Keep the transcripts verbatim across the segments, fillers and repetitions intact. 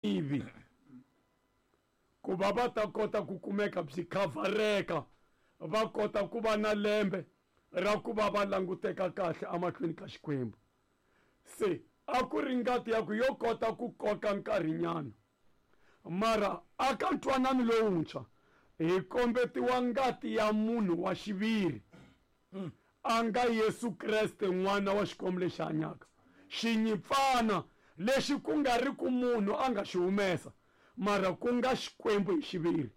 Tivi ku va va ta kota ku kumeka byi khavhareka, va kota ku va na lembe ra ku va va languteka kahle emahlweni ka Xikwembu. Se a ku ri ngati ya ku yo kota ku koka nkarhinyana, mara aka ntwanano lowuntshwa hi kombetiwa ngati ya munhu wa xiviri, a nga Yesu Kreste, n'wana wa Xikwembu lexi hanyaka, xinyipfana lexi ku nga ri ku munhu a nga xi humesa, mara ku nga Xikwembu hi xiviri.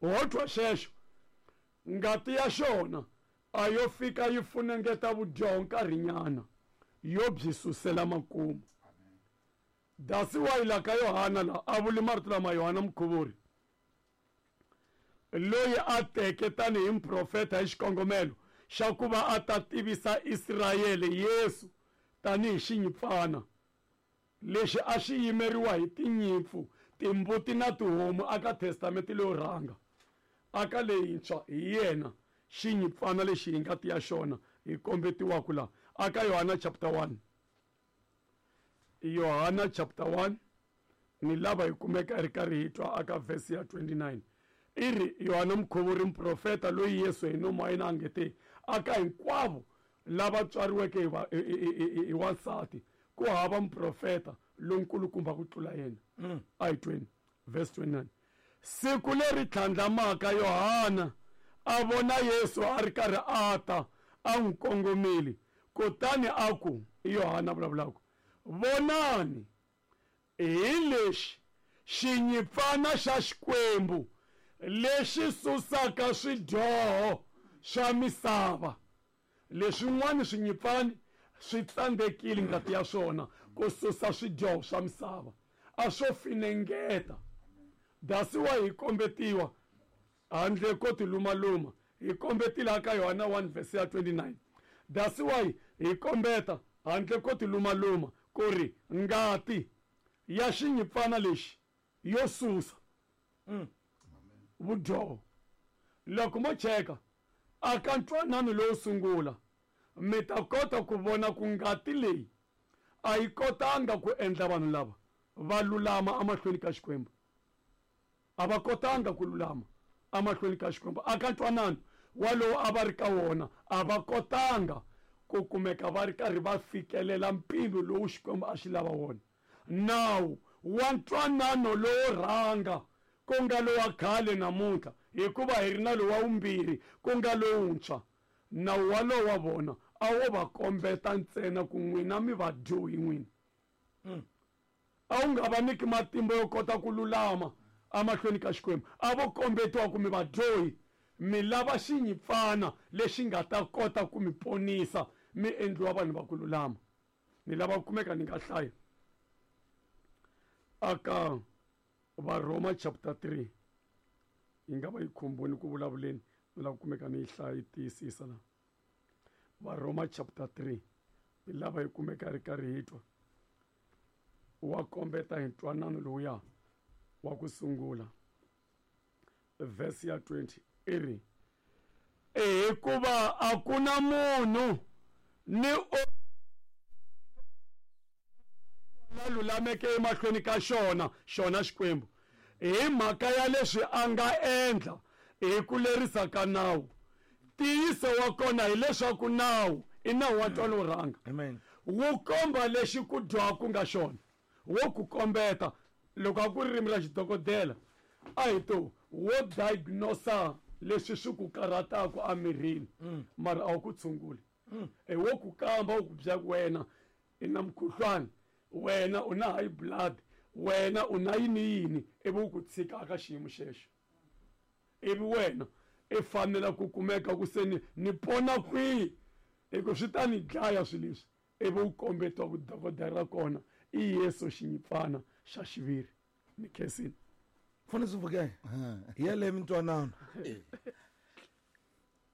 Ho twa xexo, ngati ya xona a yo fika yi funengeta vudyoho nkarhinyana, yo byi susela makumu. That's why la ka Yohana la a vuli marito lama Yohana Mukhuvuri, loyi a teke tanihi muprofeta hi xikongomelo xa ku va a ta tivisa Israyele Yesu tanihi xinyipfana lexi a xi yimeriwa hi tinyimpfu, timbuti na tihomu aka testamente leyo rhanga. Aka leyintshwa hi yena xinyipfana lexi hi ngati ya xona hi kombetiwaka la aka Yohana chapter one. Yohana chapter one ni lava hi kumeka ri karhi hi twa aka verse ya twenty-nine. I ri Yohana Mukhuvuri muprofeta loyi Yesu hi nomu wa yena a nge te aka hinkwavo lava tswariweke hi va, hi, hi, hi, hi wansati, ku hava muprofeta lonkulukumba ku tlula yena. Mm. A hi tweni verse twenty-nine. Siku leri tlhandlamaka Yohana a vona Yesu a ri karhi a ta, a n'wi kongomile, kutani a ku, i Yohana vulavulaka, vonani, hi lexi xinyipfana xa Xikwembu lexi susaka swidyoho swa misava. Leswin'wana swinyipfani swi tsandzekile ngati ya swona ku susa swidyoho swa misava, a swo finengeta. That's why hi kombetiwa handle ko tilumaluma, hi kombetile aka Yohana one verse ya twenty-nine. That's why hi kombeta handle ko tilumaluma ku ri ngati ya xinyipfana lexi yo susa Mm. vudyoho. Loko mo cheka aka ntwanano lowo sungula, mi ta kota ku vona ku ngati leyi a yi kotanga ku endla vanhu lava va lulama emahlweni ka Xikwembu. A va kotanga ku lulama emahlweni ka Xikwembu. Aka ntwanano walowo a va ri ka wona, a va kotanga ku kumeka va ri karhi va fikelela mpimo lowu Xikwembu a xi lava wona. Nawu wa ntwanano lowo rhanga, ku nga lowa khale namuntlha, hikuva hi ri na lowa vumbirhi, ku nga lowuntshwa. Nawu walowo wa vona a wo va kombeta ntsena ku n'wina mi vadyohi n'wina. Mm. A wu nga va nyiki matimba yo kota ku lulama emahlweni ka Xikwembu. A vo kombetiwa ku mi vadyohi, mi lava xinyipfana lexi nga ta kota ku mi ponisa, mi endliwa vanhu va ku lulama. Ni lava ku kumeka ni nga hlaya aka Varhoma chapter three. Yi nga va yi khumbuni ku vulavuleni, ni lava ku kumeka ni yi hlaya yi tiyisisa la. Varhoma chapter three, ni lava yi kumeka ri karhi hi twa. Wa kombeta hi ntwanano lowuya wa ku sungula. Verse ya twenty i ri, hikuva a ku na munhu ni o la lulameke emahlweni ka xona, xona Xikwembu, hi mhaka ya leswi a nga endla hi ku lerisa ka nawu. Ntiyiso wa kona hileswaku nawu i nawu wa ntwanano wo rhanga. Amen. Wu komba lexi ku dyoha ku nga xona, wo ku kombeta. Loko a ku ri ririmi ra xidokodela, a hi to wo diagnosa leswi swi ku karhataka emirini, Mm. mara a wu ku tshunguli. Mm. E wo ku kamba, wu ku byela ku wena i na mukhuhlwani, wena u na high blood, wena u na yini yini, ivi wu ku tshika ka xiyimo xexo. Ivi wena i fanela ku kumeka ku se ni, ni pona kwihi, hi ku swi ta ni dlaya swilo leswi. Ivi wu kombetiwa ku dokodela ra kona i Yesu xinyipfana xa xiviri. Ni khensile. Mfundhisi Mfukeni, hi yeleyo mintwanano.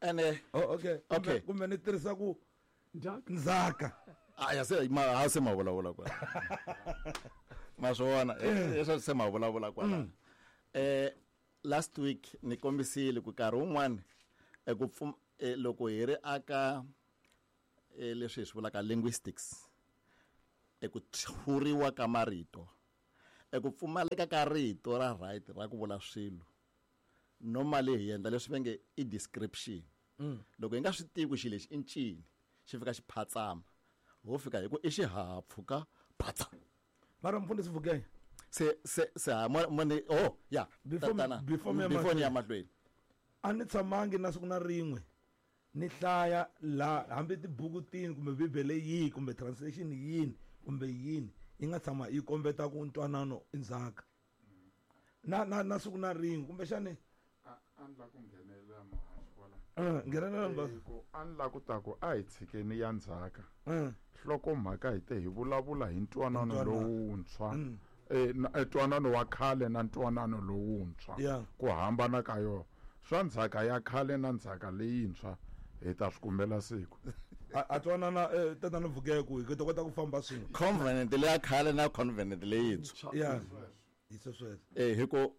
Ene, Oh, okay. Kumbe, Okay. kumbe ni tirhisa ku Ndzhaka. Ndzhaka. Ah, ya se, ma, ha se ma vulavula kwala. Ma swi vona, eh, eh, se ma vulavula kwala. Mm. Eh, last week ni kombisile ku nkarhi wun'wani, eh, ku pfum-, eh, loko hi ri aka, eh, leswi hi swi vulaka linguistics, eh, ku tshuriwa ka marito. Eku pfumaleka ka rito ra right ra ku vula swilo normally hi endla leswi va nge i description. Loko hi nga swi tivi ku xilo lexi i ncini xi fika xi phatsama ho fika hi ku i xihahampfhuka phatsa. Mara mfundhisi Vukenya se se se ha mo oh ya before before before ni ya mahlweni a ni tshamangi na siku na rin'we ni hlaya la hambi tibuku tini kumbe bibele yihi kumbe translation yini kumbe yini yi nga tshama yi kombeta ku ntwanano i ndzhaka na na na siku na rin'we kumbexani a ni la ku nghenelela muhaxi kwala nghenelela mbasa ku a ni la ku ta ku a hi tshikeni ya ndzhaka nhlokomhaka hi te hi vulavula hi ntwanano lowuntshwa eh ntwanano wa khale na ntwanano lowuntshwa ku hambana ka yona swa ndzhaka ya khale na ndzhaka leyintshwa hi ta swi kumela siku a twanana tatana Vukenya ku hi ta kota ku famba swin'we covenant leya khale na covenant leyintshwa ya hi sweswo eh hi ku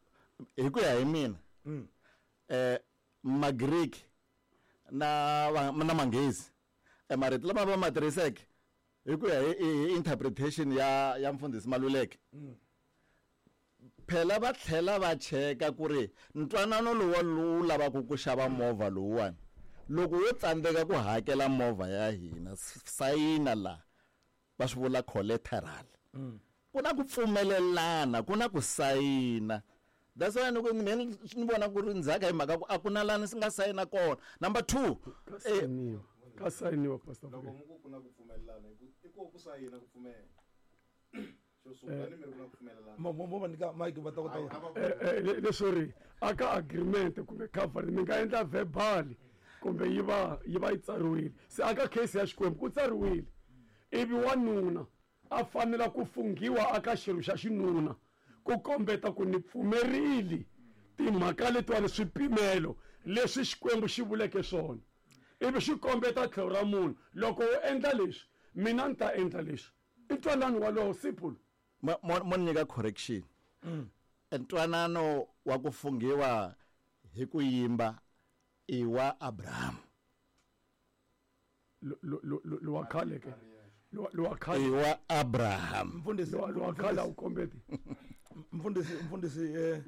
hi ku ya hi mina eh Magreek na na Manghezi e marito lama va ma tirhiseke hi ku ya hi interpretation ya ya mfundhisi Maluleke phela va tlhela va cheka ku ri ntwanano lowu lowu lavaka ku xava movha lowuwani loko wo tsandzeka ku hakela movha ya hina sayina la va swi vula collateral ku na ku pfumelelana ku na ku sayina. That's why ni ni vona ku ri ndzhaka hi mhaka ku a ku na lani swi nga sayina kona. Number two ka sayiniwa ka sayiniwa pastor loko mu ku na ku pfumelelana i ku ku sayina ku pfumela xo sungula ni mi ri ku na ku pfumelelana mo mo va nyika mic va ta kota eh leswo ri aka agreement kumbe cover mi nga endla verbal kumbe yi va yi va yi tsariwile se aka case ya Xikwembu ku tsariwile ivi wanuna a fanela ku funghiwa aka xirho xa xinuna ku kombeta ku ni pfumerile timhaka letiwani swipimelo leswi Xikwembu xi vuleke swona ivi xi kombeta tlhelo ra munhu loko u endla leswi mina ni ta endla leswi i ntwanano walowo simple. Mo ni nyika correction ntwanano wa ku funghiwa hi ku yimba i wa Abraham lowa khale ke lowa khale i wa Abraham mfundhisi lowa khale a wu kombeti mfundhisi mfundhisi eh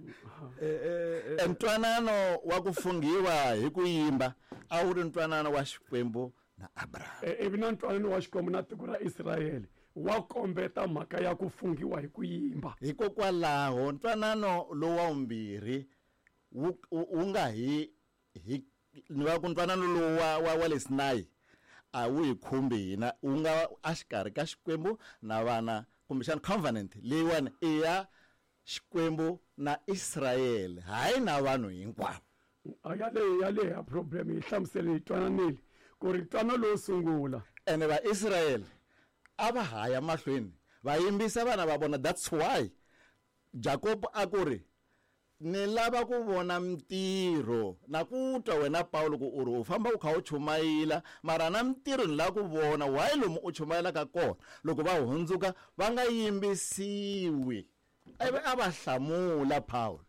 eh ntwanano wa ku funghiwa hi ku yimba a wu ri ntwanano wa Xikwembu na Abraham ivi na ntwanano wa Xikwembu na tiko ra Israyele wa kombeta mhaka ya ku funghiwa hi ku yimba hikokwalaho ntwanano lowu wa vumbirhi wu wu nga hi hi ni va ku ntwanano lowu wa wa wa le Sinai a wu hi khumbi hina wu nga exikarhi ka Xikwembu na vana kumbexana covenant leyiwani i ya Xikwembu na Israyele hayi na vanhu hinkwavo. A yaleyo yaleyo ya problem yi hlamusele yi twananile ku ri ntwanano lowo sungula ene va Israyele a va haya mahlweni va yimbisa vana va vona. That's why Jacob a ku ri ni lava ku vona mintirho na ku twa wena Paulo ku u ri u famba u kha u chumayela mara na mintirho ni lava ku vona why lomu u chumayelaka kona loko va hundzuka va nga yimbisiwi ivi a va hlamula Paulo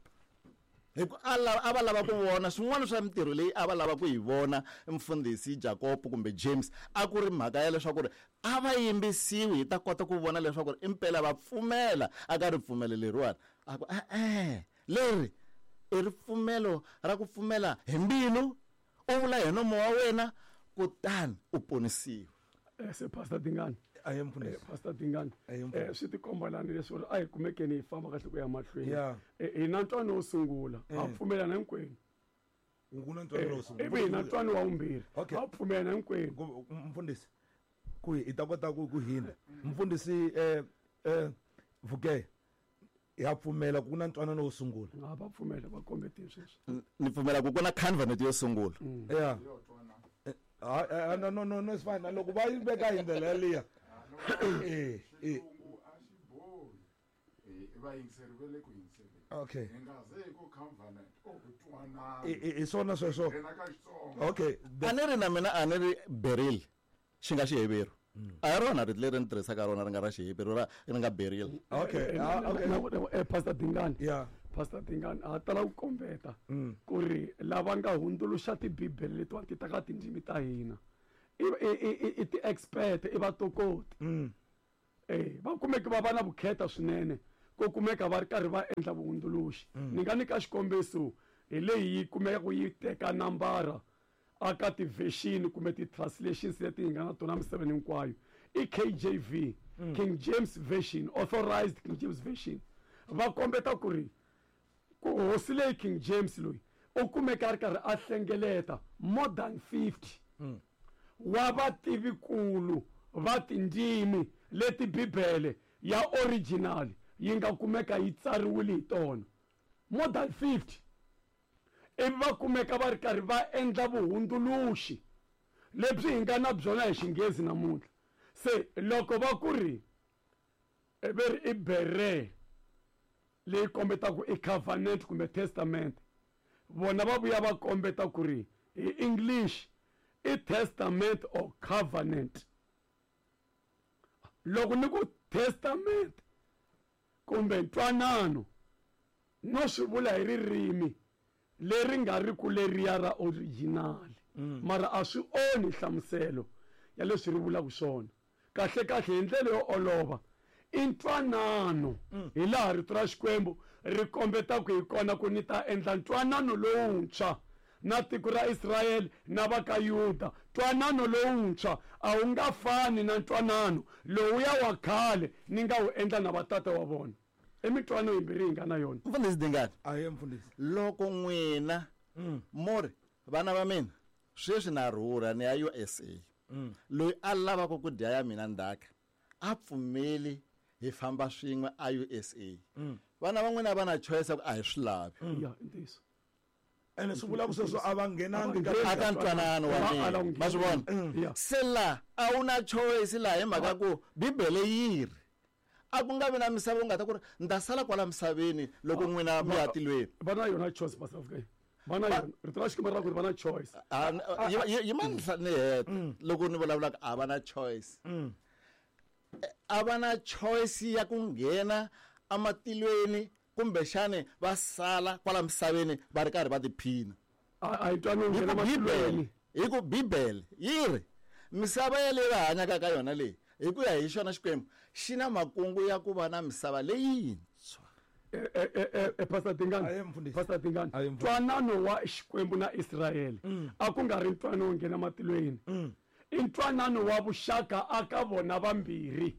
hi ku a lava a va lava ku vona swin'wana swa mintirho leyi a va lava ku yi vona mfundhisi Jacob kumbe James a ku ri mhaka ya leswaku ri a va yimbisiwi hi ta kota ku vona leswaku ri impela va pfumela aka ripfumelo leriwani a ku e-e leri i ripfumelo ra ku pfumela hi mbilu u vula hi nomo wa wena kutani u ponisiwa. Se Pastor Dingani a hi mfundhisi Pastor Dingani eh swi tikomba lani leswi ri a hi kumekeni hi famba kahle ku ya mahlweni hi na ntwanano wo sungula ha pfumelana hinkwenu ku na ntwanano wo sungula ivi hi na ntwanano wa vumbirhi ha pfumelana hinkwenu mfundhisi ku hi ta kota ku ku hina mfundhisi eh eh Vukenya ya pfumela ku na ntwanano wo sungula a va pfumela va kombetile sweswi ni pfumela ku ku na covenant yo sungula ya ah no no no no it's fine loko va yi veka hi ndlela yaliya eh eh va yingiseri va le ku yingiseleni okay hi nga ze ku covenant o ku twanana i swona sweswo okay a ni ri na mina a ni ri beril xi nga Xiheveru a hi rona rito leri ni tirhisaka rona ri nga ra Xiheveru ra ri nga beril okay okay Pastor Dingani yeah Pastor Dingani a tala ku kombeta ku ri lava nga hundzuluxa tibibele letiwani ti ta ka tindzimi ta hina i i i ti-expert i vatokoti eh va kumeke va va na vukheta swinene Ku kumeka va ri karhi va endla vuhundzuluxi. Ni nga nyika xikombiso hi leyi yi kumeka yi teka nambara aka ti-version kumbe ti-translations leti hi nga na tona misaveni hinkwayo. I K J V, mm. King James Version, Authorized King James Version. Va kombeta ku ri ku hosi leyi King James loyi u kumeka a ri karhi a hlengeleta more than fifty mm. wa vativikulu va tindzimi leti Bibele ya original yi nga kumeka yi tsariwile hi tona more than fifty. Ivi va kumeka va ri karhi va endla vuhundzuluxi lebyi hi nga na byona hi Xinghezi namuntlha. Se loko va ku ri ve ri i bere leyi kombetaka i covenant kumbe testament, vona va vuya va kombeta ku ri hi English i testament or covenant. Loko ni ku testament kumbe ntwanano no swi vula hi ririmi leri nga ri ku leriya ra original, mara a swi onhi nhlamuselo ya leswi ri vulaka swona. Kahle kahle hi ndlela yo olova i ntwanano, hi laha rito ra Xikwembu ri kombetaka hi kona ku ni ta endla ntwanano lowuntshwa na tiko ra Israyele na va ka Yuda. Ntwanano lowuntshwa a wu nga fani na ntwanano lowuya wa khale ni nga wu endla na vatata wa vona. I mitwanano yimbirhi hi nga na yona. Mfundhisi Dingani, ahe mfundhisi, loko n'wina mo ri vana va mina sweswi na rhurha ni ya U S A, loyi a lavaka ku dya ya mina ndzhaka a pfumeli hi famba swin'we a U S A. Vana va n'wina va na choice ku a hi swi lavi. Ya, i ntiyiso. Ene swi vula ku sweswo a va nghenangi aka ntwanano wa mina. Ma swi vona? Se la a wu na choice laha hi mhaka ku Bibele yi ri a ku nga vi na misava u nga ta ku ri ni ta sala kwala misaveni loko n'wina mi ya tilweni. Va na yona choice, Pastor Afrika. Va na yona. Rito ra Xikwembu ra ku ri va na choice. Yima ni heta loko ni vulavulaka a va na choice. A va na choice ya ku nghena amatilweni kumbexani va sala kwala misaveni va ri karhi va tiphina. A hi twani nghena matilweni. Hi ku Bibele yi ri misava yaleyi va hanyaka ka yona leyi hi ku ya hi xona Xikwembu xi na makungu ya ku va na misava leyintshwa. Pastor Dingani, Pastor Dingani, ntwanano wa Xikwembu na Israyele a ku nga ri ntwanano wo nghena matilweni. I ntwanano wa vuxaka aka vona vambirhi.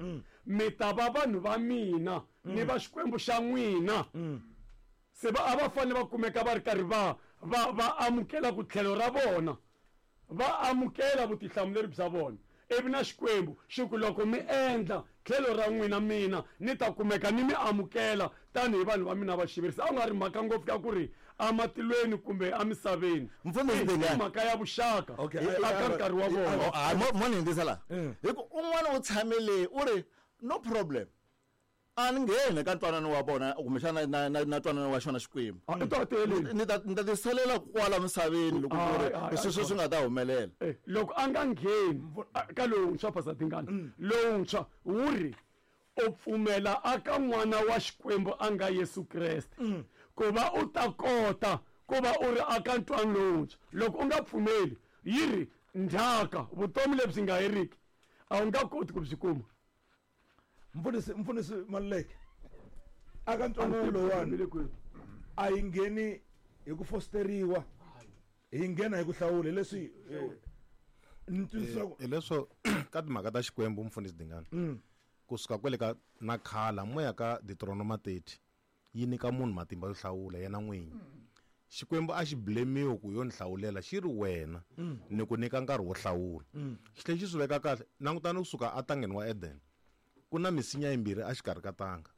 Mi ta va vanhu va mina ni va Xikwembu xa n'wina. Se va a va fanele va kumeka va ri karhi va va va amukela ku tlhelo ra vona, va amukela vutihlamuleri bya vona. Ivi na Xikwembu xi ku loko mi endla tlhelo ra n'wina mina ni ta kumeka ni mi amukela tanihi vanhu va mina va xiviri. Se a ku nga ri mhaka ngopfu ya ku ri amatilweni kumbe emisaveni. I mhaka ya vuxaka aka nkarhi wa vona. Mo ni hundzisa laha hi ku un'wana u tshamele u ri no problem, a ni ngheni ka ntwanano wa vona kumbexana na na na ntwanano wa xona Xikwembu. Ni ta ni ta tisalela kwala misaveni loko ku ri sweswo swi nga ta humelela. Loko a nga ngheni ka lowuntshwa, Pastor Dingani, lowuntshwa wu ri u pfumela aka n'wana wa Xikwembu a nga Yesu Kreste ku va u ta kota ku va u ri aka ntwanano lowuntshwa. Loko u nga pfumeli yi ri ndzhaka vutomi lebyi nga heriki a wu nga koti ku byi kuma. Mfundhisi, mfundhisi Maluleke, aka ntwanano lowuwani a yi ngheni hi ku fosteriwa, hi nghena hi ku hlawula. Leswi ni twisisa hi leswo ka timhaka ta Xikwembu, mfundhisi Dingani, kusuka kwele ka na khala moya ka Deuteronomy thirty yi nyika munhu matimba yo hlawula yena n'winyi. Xikwembu a xi blemiwe ku yo ni hlawulela, xi ri wena ni ku nyika nkarhi wo hlawula. Xi tlhela xi swi veka kahle. Langutani kusuka atangeni wa Eden, ku na misinya yimbirhi exikarhi ka tanga,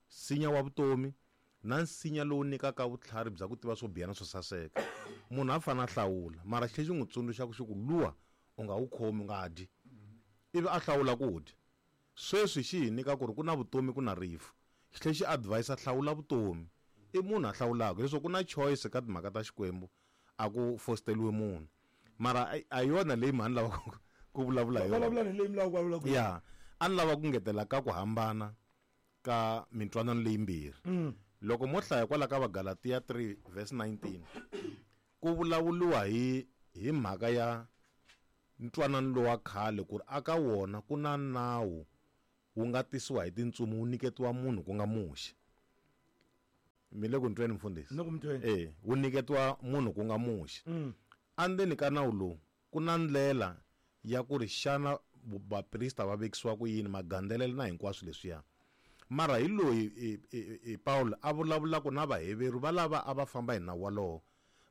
nsinya wa vutomi na nsinya lowu nyikaka vutlhari bya ku tiva swo biha na swo saseka. Munhu a fanele a hlawula, mara xi tlhela xi n'wi tsundzuxa ku xi ku luwa u nga wu khomi, u nga dyi, ivi a hlawula ku dya. Sweswi xi hi nyika ku ri ku na vutomi ku na rifu. Xi tlhela xi advise hlawula vutomi. I munhu a hlawulaka leswaku ku na choice ka timhaka ta Xikwembu, a ku fosteriwe munhu. Mara a yona leyi mhani lava ku vulavula hi yona. Vulavula leyi mi lavaka ku vulavula. Ya, a ni lava ku ngetela ka ku hambana ka mintwanano leyimbirhi. Loko mo hlaya kwala ka Vagalatiya three verse nineteen, ku vulavuriwa hi hi mhaka ya ntwanano lowa khale ku ri aka wona ku na nawu wu nga tisiwa hi tintsumi wu nyiketiwa munhu ku nga Muxe. Mi le ku ni tweni mfundhisi? Eh, wu nyiketiwa munhu ku nga Muxe. Andzeni ka nawu lowu ku na ndlela ya ku ri xana vaprista va vekisiwa ku yini, magandzelelo na hinkwaswo leswiya. Mara hi loyi e Paulo a vulavulaka na Vaheveru va lava a va famba hi nawu walowo,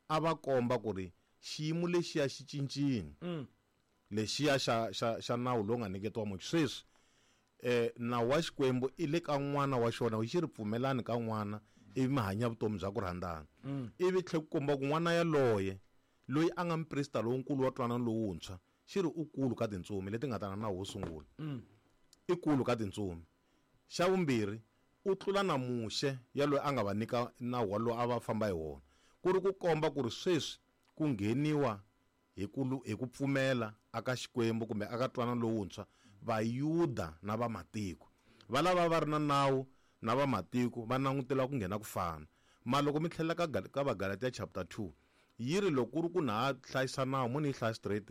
a va komba ku ri xiyimo lexiya xi cincile. Lexiya xa xa xa nawu lowu nga nyiketiwa Muxe. Sweswi eh nawu wa Xikwembu i le ka n'wana wa xona, xi ri pfumelani ka n'wana ivi mi hanya vutomi bya ku rhandzana. Ivi tlhe ku komba ku n'wana yaloye loyi a nga muprista lonkulu wa ntwanano lowuntshwa, xi ri u kulu ka tintsumi leti nga ta na nawu wo sungula. I kulu ka tintsumi. Xa vumbirhi, u tlula na Muxe ya loyi a nga va nyika nawu walowo a va famba hi wona, ku ri ku komba ku ri sweswi ku ngheniwa hi ku hi ku pfumela aka Xikwembu kumbe aka ntwanano lowuntshwa, Vayuda na vamatiko va lava va ri na nawu na vamatiko va langutela ku nghena ku fana. Ma loko mi tlhela ka ka Vagalatia chapter two, yi ri loko ku ri ku na ha hlayisa nawu, mo ni yi hlaya straight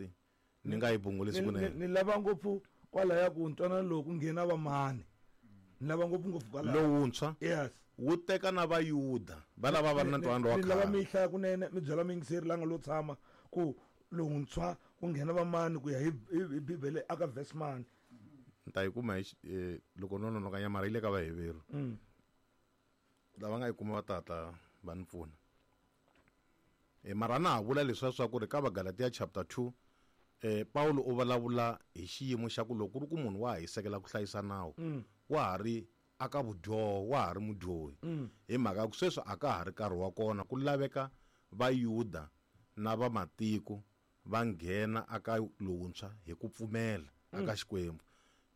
ni nga yi bungulisi kunene. Ni lava ngopfu kwalaya ku ntwanano lowu ku nghena vamani, ni lava ngopfu ngopfu kwalaya lowuntshwa. Yes, wu teka na Vayuda va lava va ri na ntwanano wa khale. Ni lava khale. mi hlaya kunene, mi byela muyingiseri la nga lo tshama ku lowuntshwa ku nghena vamani ku ya hi hi Bibele aka verse mani. Ni ta yi kuma hi loko no nonoka nyamara yi le ka Vaheveru. Lava nga yi kuma va tata va ni pfuna. E mara na ha vula leswiya swa ku ri ka Vagalatia chapter two, eh Paulo u vulavula hi xiyimo xa ku loko ku ri ku munhu wa ha hisekela ku hlayisa nawu, wa ha ri aka vudyoho, wa ha ri mudyohi. Hi mhaka ku sweswi a ka ha ri nkarhi wa kona ku laveka Vayuda na vamatiko va nghena aka lowuntshwa hi ku pfumela aka Xikwembu.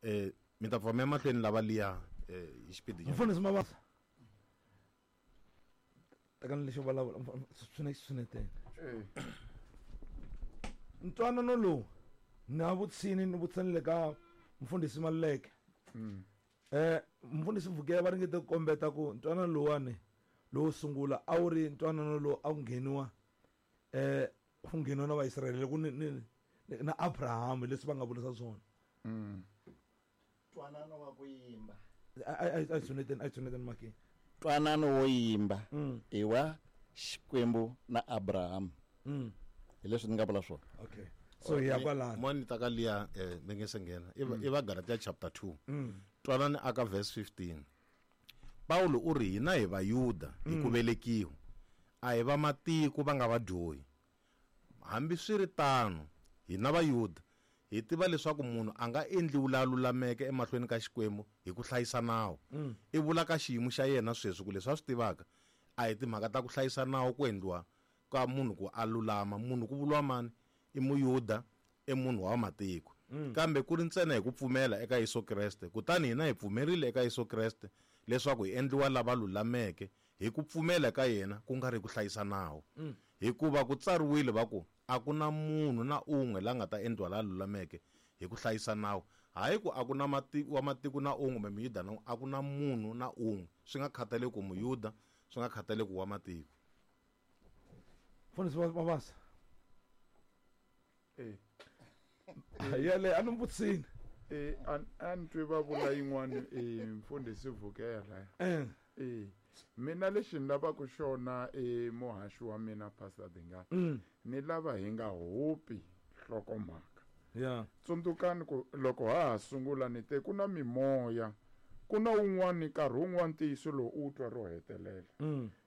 Eh mi ta pfumela mahlweni lava liya eh hi xipidi nyana. Mfundhisi Mabasa, tekani lexo vulavula swine swinetene. Ntwanano lowu na vutsini ni vutsanile ka mfundhisi Maluleke. Eh mfundhisi Vukela va ringete ku kombeta ku ntwanano lowani lowo sungula a wu ri ntwanano lowu a wu ngheniwa eh ku ngheniwa na Vaisraele ku ni ni na Abraham, leswi va nga vurisa swona. Ntwanano wa ku yimba. A a tshuneteni a tshuneteni maki. Ntwanano wo yimba i wa Xikwembu na Abraham. Hi leswi ni nga vula swona. Okay. So hi ya kwalano. Mo ni ta ka liya eh ni nge se nghena. I va Galatia chapter two. Twanani aka verse fifteen. Paulo u ri hina hi Vayuda hi ku velekiwa, a hi va matiko va nga vadyohi. Hambi swi ri tano, hina Vayuda hi tiva leswaku munhu a nga endliwi la lulameke emahlweni ka Xikwembu hi ku hlayisa nawu. I vula ka xiyimo xa yena sweswi ku leswi a swi tivaka a hi timhaka ta ku hlayisa nawu ku endliwa ka munhu ku a lulama. Munhu ku vuriwa mani? I Muyuda, i munhu wa matiko. Kambe ku ri ntsena hi ku pfumela eka Yesu Kreste. Kutani hina hi pfumerile eka Yesu Kreste leswaku hi endliwa lava lulameke hi ku pfumela ka yena, ku nga ri ku hlayisa nawu. Hikuva ku tsariwile va ku a ku na munhu na un'we la nga ta endliwa la lulameke hi ku hlayisa nawu. Hayi ku a ku na matiko wa matiko na un'we kumbe Muyuda na un'we, a ku na munhu na un'we, swi nga khathaleki ku Muyuda, swi nga khathaleki wa matiko. Mfundhisi Mabasa. Eh. Yale a ni vutisini. Eh a ni twi va vula yin'wana eh mfundhisi Vukela. Eh. Eh mina lexi ni lavaka xona e muhaxi wa mina Pastor Dingani. Ni lava hi nga hupi nhlokomhaka. Yeah. Tsundzukani ku loko ha ha sungula ni te ku na mimoya, ku na wun'wani nkarhi wun'wani ntiyiso lowu u twa ro hetelela.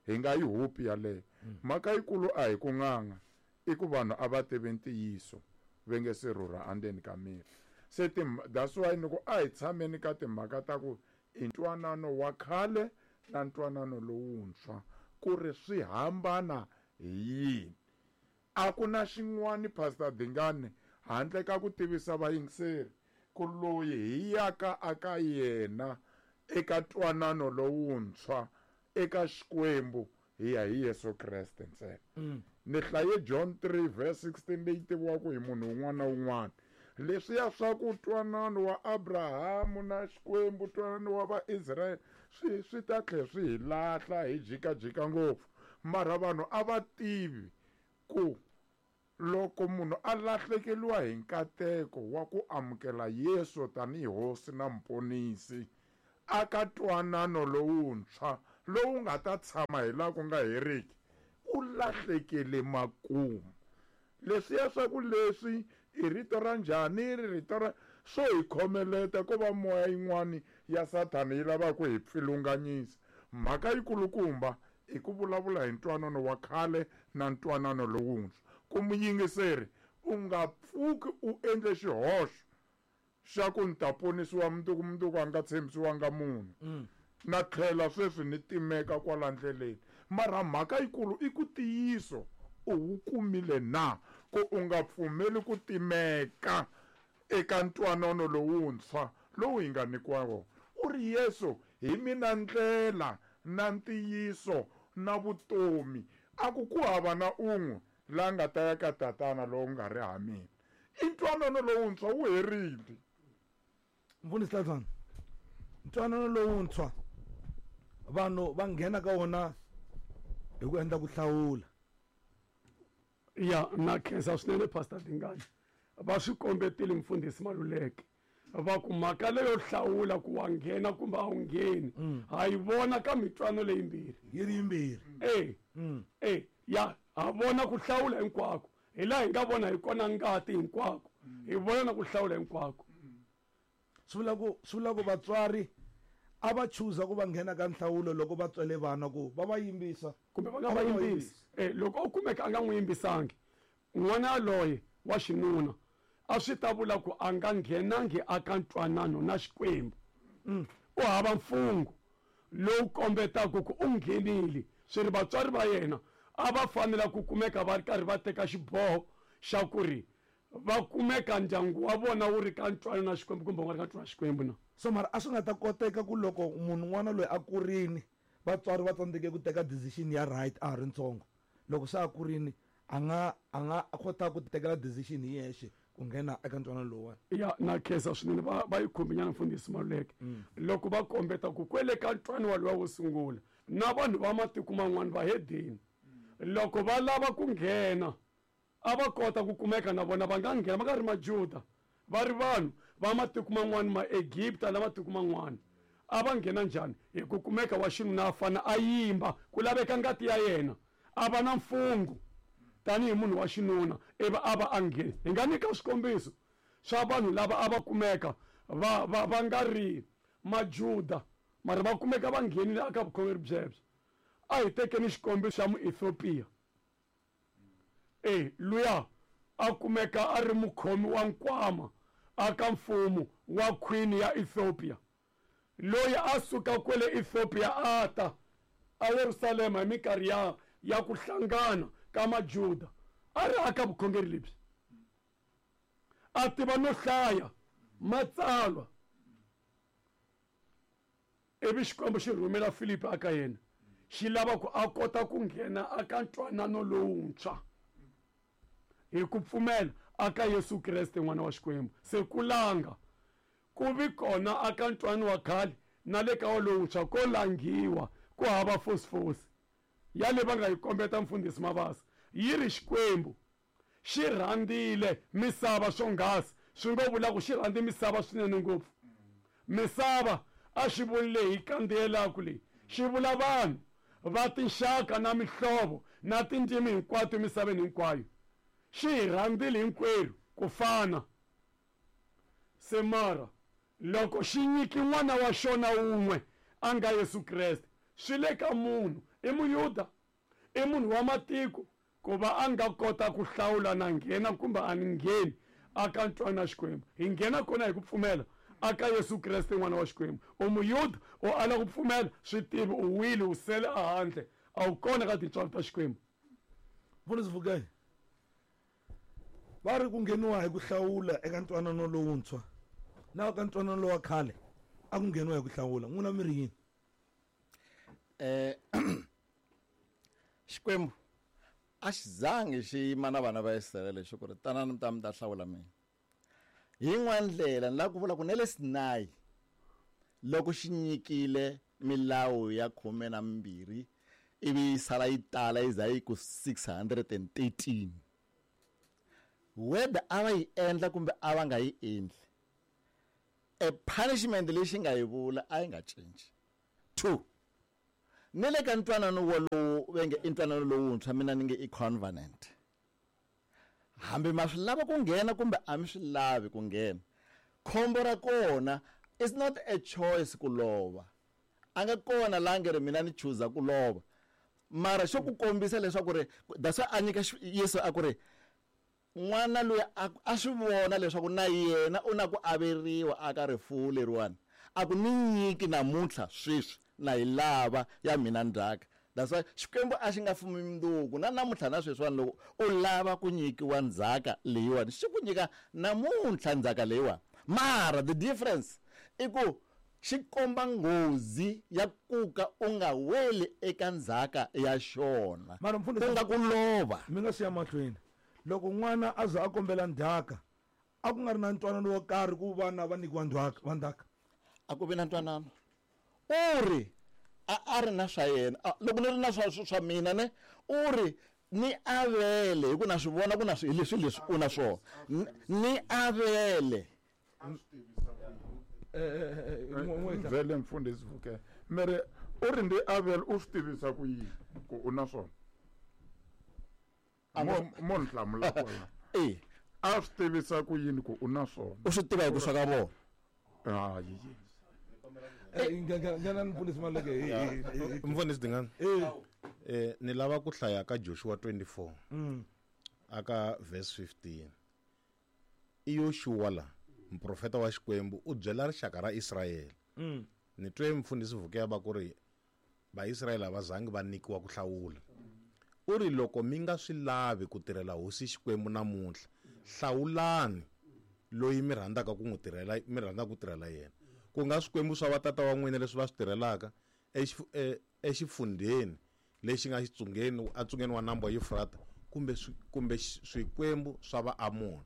Hi nga yi hupi yaleyo. Mhaka yikulu a hi ku n'anga, i ku vanhu a va tivi ntiyiso va nge se rhurha andzeni ka miri. Se that's why ni ku a hi tshameni ka timhaka ta ku i ntwanano wa khale na ntwanano lowuntshwa ku ri swi hambana hi yini. A ku na xin'wani Pastor Dingani handle ka ku tivisa vayingiseri ku loyi hi yaka aka yena eka ntwanano lowuntshwa eka Xikwembu hi ya hi Yesu Kreste ntsena. Ni hlaye John three verse sixteen leyi tiviwaka hi munhu un'wana na un'wana. Leswiya swa ku ntwanano wa Abrahamu na Xikwembu, ntwanano wa Vaisraele swi swi ta tlhela swi hi lahla hi jikajika ngopfu. Mara vanhu a va tivi ku loko munhu a lahlekeriwa hi nkateko wa ku amukela Yesu tanihi hosi na muponisi aka ntwanano lowuntshwa lowu nga ta tshama hi laha ku nga heriki u lahlekele makumu. Leswiya swa ku leswi i rito ra njhani, ri rito ra swo hi khomeleta ko va moya yin'wani ya Sathana yi lavaka ku hi pfilunganyisa. Mhaka yikulukumba i ku vulavula hi ntwanano wa khale na ntwanano lowuntshwa. Ku muyingiseri u nga pfuki u endle xihoxo xa ku ni ta ponisiwa mundzuku, mundzuku a nga tshembisiwanga munhu. Na tlhela sweswi ni timeka kwala ndleleni. Mara mhaka yikulu i ku tiyiso u wu kumile na, ku u nga pfumeli ku timeka eka ntwanano lowuntshwa lowu hi nga nyikiwa wona. U ri Yesu hi mina ndlela na ntiyiso na vutomi, a ku ku hava na un'we la nga ta ya ka tatana lowu nga ri ha mina. I ntwanano lowuntshwa wu herile. Mfundhisi Tlatswana, ntwanano lowuntshwa vanhu va nghena ka wona hi ku endla ku hlawula. Ya, na khensa swinene Pastor Dingani. Va swi kombetile mfundhisi Maluleke va ku mhaka leyo hlawula ku wa nghena kumbe a wu ngheni ha yi vona ka mitwano leyimbirhi. Yi ri yimbirhi. E, e, ya ha vona ku hlawula hinkwako, hi laha hi nga vona hi kona ngati hinkwako, hi vona na ku hlawula hinkwako. Swi vula ku, swi vula ku vatswari a va chuza ku va nghena ka nhlawulo loko va tswele vana ku va va yimbisa kumbe va nga va yimbisi. Eh, loko u kumeka a nga n'wi yimbisangi n'wana yaloye wa xinuna, a swi ta vula ku a nga nghenangi aka ntwanano na Xikwembu. U hava mfungho lowu kombetaka ku u nghenile. Swi ri vatswari va yena a va fanela ku kumeka va ri karhi va teka xiboho xa ku ri va kumeka ndyangu wa vona wu ri ka ntwanano na Xikwembu kumbe wu nga ri ka ntwanano na Xikwembu na. So mara a swi nga ta koteka ku loko munhu n'wana loyi a kurini vatswari va tsandzeke ku teka decision ya right a ha ri ntsongo, loko se a kurini a nga a nga kota ku tekela decision hi yexe ku nghena eka ntwanano lowuwani. Ya, na khensa swinene va va yi khumbinyana mfundhisi Maluleke. Loko va kombeta ku kwele ka ntwanano walowa wo sungula na vanhu va matiko man'wana va hedeni, loko va lava ku nghena a va kota ku kumeka na vona va nga nghena, va nga ri Majuda, va ri vanhu va matiko man'wana, ma Egipta na matiko man'wana. A va nghena njhani? Hi ku kumeka wa xinuna a fana a yimba, ku laveka ngati ya yena, a va na mfungho tanihi munhu wa xinuna, ivi a va a nghena. Hi nga nyika swikombiso swa vanhu lava a va kumeka va va va nga ri Majuda, mara va kumeka va nghenile aka vukhongeri byebyo. A hi tekeni xikombiso xa Muethiopia. E, luya a kumeka a ri mukhomi wa nkwama aka mfumo wa queen ya Ethiopia, loyi a suka kwele Ethiopia a ta a Yerusalema hi minkarhi ya ya ku hlangana ka Majuda, a ri aka vukhongeri lebyi, a tiva no hlaya matsalwa. Ivi Xikwembu xi rhumela Filipi aka yena, xi lava ku a kota ku nghena aka ntwanano lowuntshwa hi ku pfumela aka Yesu Kreste n'wana wa Xikwembu. Se ku langa ku vi kona aka ntwanano wa khale na le ka wa lowuntshwa ko langiwa, ku hava fosifosi ya le va nga yi kombeta mfundhisi Mabasa. Yi ri Xikwembu xi rhandzile misava swonghasi, swi ngo vula ku xi rhandzi misava swinene ngopfu. Misava a xi vuli leyi hi kandziyelaka leyi, xi vula vanhu va tinxaka na mihlovo na tindzimi hinkwato emisaveni hinkwayo. Xi hi rhandzile hinkwerhu ku fana. Se mara loko xi nyiki n'wana wa xona wun'we a nga Yesu Kreste, swi le ka munhu, i Muyuda, i munhu wa matiko, ku va a nga kota ku hlawula na nghena kumbe a ni ngheni aka ntwanano na Xikwembu. Hi nghena kona hi ku pfumela aka Yesu Kreste n'wana wa Xikwembu. U Muyuda, u ala ku pfumela, swi tivi u wile, u sele ehandle, a wu kona ka tintswalo ta Xikwembu. Mfundhisi Vukani, va ri ku ngheniwa hi ku hlawula eka ntwanano lowuntshwa na ka ntwanano lowa khale a ku ngheniwa hi ku hlawula, n'wina mi ri yini? Eh, Xikwembu a xi zangi xi yima na vana va Israyele xi ku ri tanani mi ta mi ta hlawula mina. Hi yin'wana ndlela ni lava ku vula ku na le Sinai loko xi nyikile milawu ya khume na mimbirhi ivi yi sala yi tala yi za yi ku six hundred and thirteen, whether a va yi endla kumbe a va nga yi endli, e punishment leyi xi nga yi vula a yi nga cinci. Two, Ni le ka ntwanano wolowo va nge i ntwanano lowuntshwa mina ni nge i covenant. Hambi ma swi lava ku nghena kumbe a mi swi lavi ku nghena. Khombo ra kona it's not a choice ku lova. A nga kona la nge ri mina ni chuza ku lova. Mara xo ku kombisa leswaku ri that's why a nyika Yesu a ku ri n'wana loyi a swi vona leswaku na yena u na ku averiwa aka rifuwo leriwani. A ku ni nyiki namuntlha sweswi na yi lava ya mina ndzhaka. That's why Xikwembu a xi nga fumi mundzuku na namuntlha na sweswiwani loko u lava ku nyikiwa ndzhaka leyiwani xi ku nyika namuntlha ndzhaka leyiwani. Mara the difference i ku xi komba nghozi ya kuka u nga weli eka ndzhaka ya xona. Mara mfundhisi ku nga ku lova. Mi nga siya mahlweni. Loko n'wana a za a kombela ndzhaka a ku nga ri na ntwanano wo karhi ku vana va nyikiwa ndzhaka va ndzhaka. A ku vi na ntwanano. U ri a a ri na swa yena. Loko ni ri na swa swa mina ne u ri ni avele hi ku na swi vona ku na swi leswi leswi u na swona. Ni avele. Vele mfundhisi Vuke mere u ri ndi avele u swi tivisa ku yini ku u na swona. Mo mo hlamula kona. Eh a swi tivisa ku yini ku u na swona. U swi tiva hi ku swa ka vona. Hayi. Eh ngana mfundhisi Maleke hi mfundhisi Dingani. Eh ni lava ku hlaya ka Joshua twenty-four. Mm. Aka verse fifteen. I Yoshua la muprofeta wa Xikwembu u byela rixaka ra Israyele. Mm. Ni twe mfundhisi Vuke va ku ri Vaisrayele a va zangi va nyikiwa ku hlawula. U ri loko mi nga swi lavi ku tirhela hosi Xikwembu namuntlha, hlawulani loyi mi rhandzaka ku n'wi tirhela, mi rhandzaka ku tirhela yena. Ku nga swikwembu swa vatata wa n'wina leswi va swi tirhelaka exifundheni lexi nga xitsungeni atsungeni wa nambu wa Yufrata kumbe kumbe swikwembu swa Vaamoni.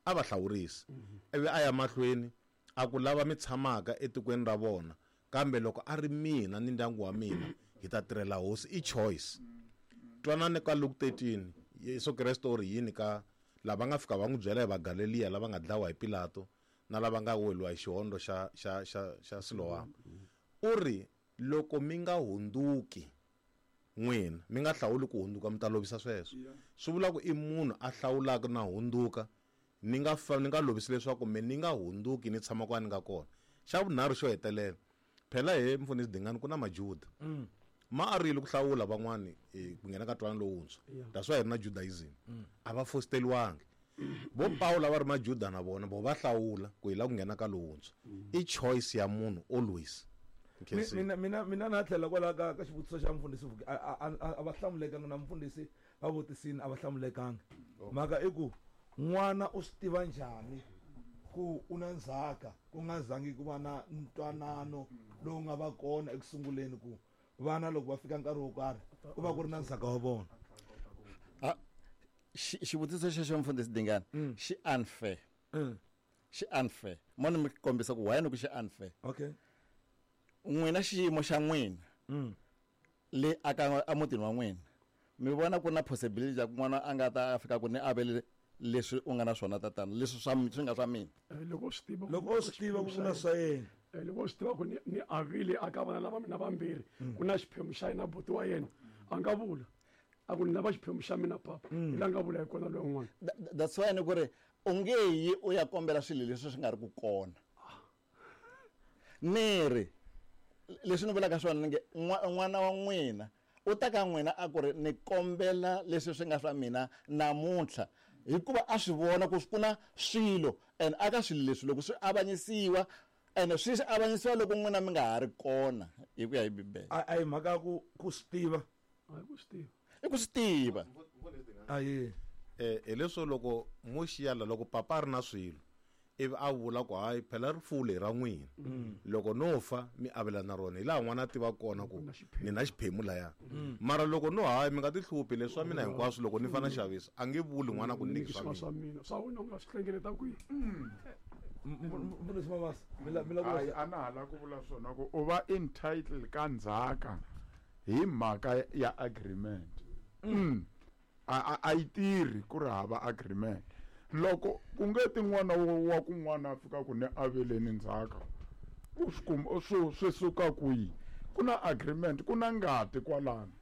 A va hlawurisi. Ivi a ya mahlweni a ku lava mi tshamaka etikweni ra vona, kambe loko a ri mina ni ndyangu wa mina hi ta tirhela hosi. I choice. Twanani ka Luke thirteen, Yesu Kreste u ri yini ka lava nga fika va n'wi byela hi Vagaleliya lava nga dlawa hi Pilato na lava nga weliwa hi xihondo xa xa xa xa Siloam. U ri loko mi nga hundzuki n'wina mi nga hlawuli ku hundzuka mi ta lovisa sweswo. Swi vula ku i munhu a hlawulaka na hundzuka ni nga fa ni nga lovisi leswaku me ni nga hundzuki ni tshama kwani nga kona. Xa vunharhu xo hetelela phela he mfundhisi Dingani ku na Majuda. Ma arile ku hlawula van'wani ku nghena ka ntwanano lowuntshwa. That's why hi ri na Judaism. A va fosteriwangi. Vo Paulo va ri Majuda na vona vo va hlawula ku hi lava ku nghena ka lowuntshwa. I choice ya munhu always. Mina mina mina na tlhela kwala ka ka xivutiso xa mfundhisi Vuke a va hlamulekanga na mfundhisi va vutisini a va hlamulekanga. Mhaka i ku n'wana u swi tiva njhani ku u na ndzhaka ku nga zangi ku va na ntwanano lowu nga va kona ekusunguleni ku vana loko va fika nkarhi wo karhi ku va ku ri na ndzhaka wa vona. Xivutiso xexo mfundhisi Dingani xi unfair. Xi unfair. Mo ni mi kombisa ku why ni ku xi unfair. Okay. N'wina xiyimo xa n'wina le aka emutini wa n'wina mi vona ku na possibility ya ku n'wana a nga ta fika ku ni avele leswi u nga na swona tatana leswi swa swi nga swa mina. Loko swi tiva loko u swi tiva ku na swa yena. Loko swi tiva ku ni ni avile aka vana lava mina vambirhi ku na xiphemu xa yena buti wa yena a nga vula a ku ni lava xiphemu xa mina papa hi la nga vula hi kona loyi un'wana. That's why ni ku ri u nge yi u ya kombela swilo leswi swi nga ri ku kona. Ni ri leswi ni vulaka swona ni nge n'wana wa n'wina u ta ka n'wina a ku ri ni kombela leswi swi nga swa mina namuntlha hikuva a swi vona ku ku na swilo and aka swilo leswi loko swi avanyisiwa and swi swi avanyisiwa loko n'wina mi nga ha ri kona hi ku ya hi Bibele. A hi mhaka ku ku swi tiva. A ku swi tiva. I ku swi tiva. Ayi. Eh hileswo loko mo xiyala loko papa a ri na swilo ivi a vula ku hayi phela rifuwo leri ra n'wina loko no fa mi avelana rona hi laha n'wana a tiva kona ku ni na xiphemu laya. Mara loko no hayi mi nga ti hluphi leswi swa mina hinkwaswo loko ni fana xavisa a nge vuli n'wana ku ni nyiki swa mina swa wena u nga swi hlengeleta kwihi. Mfundhisi Mabasa mi la ku a na ha la ku vula swona ku u va entitled ka ndzhaka hi mhaka ya agreement. A a yi tirhi ku ri hava agreement. Loko ku nge ti n'wana wa kun'wana a fika ku ni aveleni ndzhaka u swi kuma swi swi suka kwihi Ku na agreement, ku na ngati kwalano.